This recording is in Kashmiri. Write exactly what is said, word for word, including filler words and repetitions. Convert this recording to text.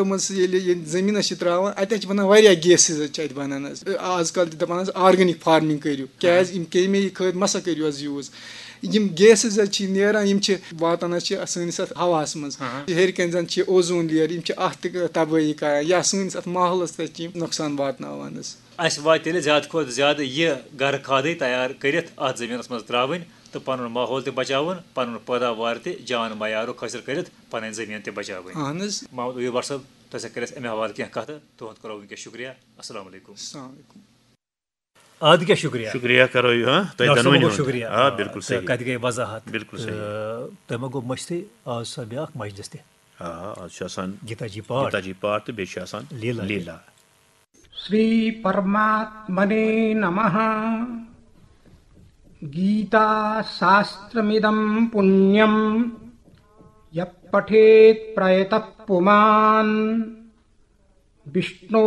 منٛز ییٚلہِ ییٚلہِ زٔمیٖنَس چھِ ترٛاوان، اَتہِ حظ چھِ بَنان واریاہ گیسِز حظ چھِ اَتہِ بَنان حظ۔ آز کَل تہِ دَپان حظ آرگینِک فارمِنٛگ کٔرِو، کیٛازِ یِم کیمیٖکَل مَسا کٔرِو حظ یوٗز۔ یِم گیسِز حظ چھِ نیران، یِم چھِ واتان حظ چھِ سٲنِس اَتھ ہَواہَس منٛز۔ ہیٚرِ کَنۍ زَن چھِ اوزون لیَر، یِم چھِ اَتھ تہِ تَبٲہی کَران یا سٲنِس اَتھ ماحولَس تہِ چھِ یِم نۄقصان واتناوان حظ۔ اَسہِ واتہِ تیٚلہِ زیادٕ کھۄتہٕ زیادٕ یہِ گَرٕ کھادٕے تیار کٔرِتھ اَتھ زٔمیٖنَس منٛز ترٛاوٕنۍ تہٕ پَنُن ماحول تہِ بَچاوُن، پَنُن پٲداوار تہِ جان معیارُک حٲصِل کٔرِتھ پَنٕنۍ زٔمیٖن تہِ بَچاوٕنۍ۔ اَہَن حظ۔ محمد عیوب بٹ صٲب، تۄہہِ سۭتۍ کٔر اَسہِ اَمہِ حوالہٕ کینٛہہ کَتھٕ، تُہُنٛد کَرو وٕنکیٚس شُکریہ۔ السلام علیکم۔ السلام علیکم۔ اَدٕ کیٛاہ شُکریہ؟ شُکریہ کَرو یہِ، ہاں، تۄہہِ ڈاکٹر صٲب دۄنوٕنی گوٚو ہُنٛد۔ شُکریہ۔ آ، بِلکُل تہٕ صحیح۔ کَتہِ گٔے وضاحت؟ بِلکُل صحیح۔ تہٕ تۄہہِ ما گوٚو مٔشتٕے، آز چھُ آسان بیٛاکھ مجلس تہِ۔ آ، آز چھُ آسان گیٖتا جی پاٹھ۔ گیٖتا جی پاٹھ تہٕ بیٚیہِ چھُ آسان لیٖلا۔ لیٖلا۔ श्रीपरमात्मने नमः। गीताशास्त्रमिदं पुण्यं यः पठेत् प्रयतः पुमान्। विष्णो